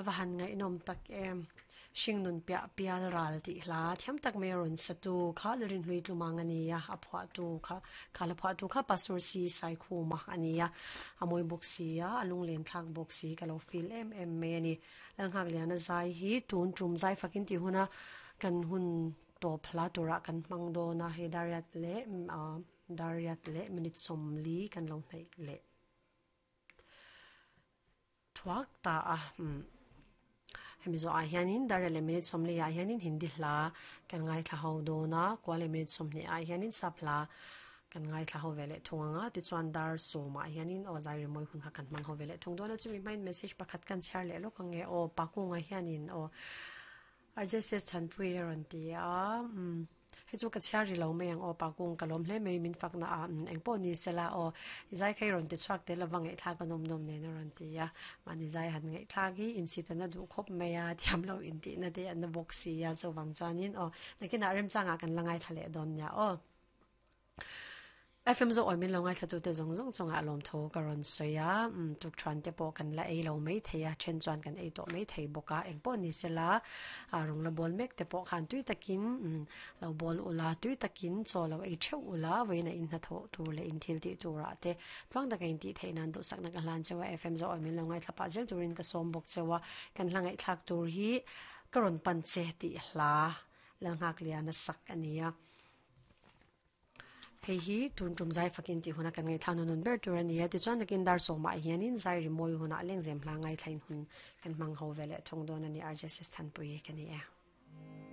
A va han ngaihnawm tak em. Hringnun piah pial ral tih hla thiam tak mai a rawn sa tu kha Lalrinhlui Tlumang a ni a, a phuahtu kha kha la phuahtu kha Pastor C Saikhuma a ni a, a mawi bawk si a, a lunglen thlak bawk si ka lo feel em em mai a ni. Lalnghakliana zai hi tun tum zai fakin tih huna kan hun tawp hla turah kan hmang dawn a, hei Dariat leh Dariat leh minute 40 kan lo hnaih leh. Thuak ta a umm hemi zawh ah hianin dar leh minute 40 ah hianin hindi hla kan ngaithla ho dawn a kua leh minute 20 ah hianin sap hla kan ngaithla ho ve leh thung ang a tichuan dar 10 ah hianin aw zai rimawi hun kha kan hmang ho ve leh thung dawn a chumi hmain message pakhat kan chhiar leh lawk ang nge aw pakunga hianin aw RJSS Thanpui a rawn ti a, umm hei chu ka chhiar ri lo mai ang aw Pakung ka lawm hle mai min fakna a, umm eng pawh ni sela aw i zai kha i rawn ti chhuak tel lova ngaihthlak a nawm nawm nen a rawn ti a, mahni zai han ngaihthlak hi insit a na duh khawp mai a, thiam lo intihna te a na bawk si a chuvang chuanin aw nakinah remchangah kan la ngaithla leh dawn nia aw. FM zawh awi min lo ngaithlatute zawng zawng chungah lawmthu ka rawn sawi a, umm tukthuan te pawh kan la ei lo mai thei a, then chuan kan ei tawh mai thei bawk a, eng pawh ni sela ah rawng la bawl mek te pawh khan tui takin umm lo bawl ula, tui takin chaw lo ei theuh ula, vawiin a in hnathawh tur leh in thil tih turah te tluang taka in tih theih nan duhsakna ka hlan cheu a, FM zawh awi min lo ngaithla pah zel turin ka sawm bawk cheu a, kan hla ngaihthlak tur hi ka rawn pan che tih hla Lalnghakliana sak a ni a. Hei hi tun tum zai fakin tih huna kan ngaihthla nun ber tur a ni a, tichuan nakin dar sawmah hianin zai rimawi hunah lengzem hla ngaithlain hun kan hmang ho ve leh thung dawn a ni, RJSS Thanpui ka ni e.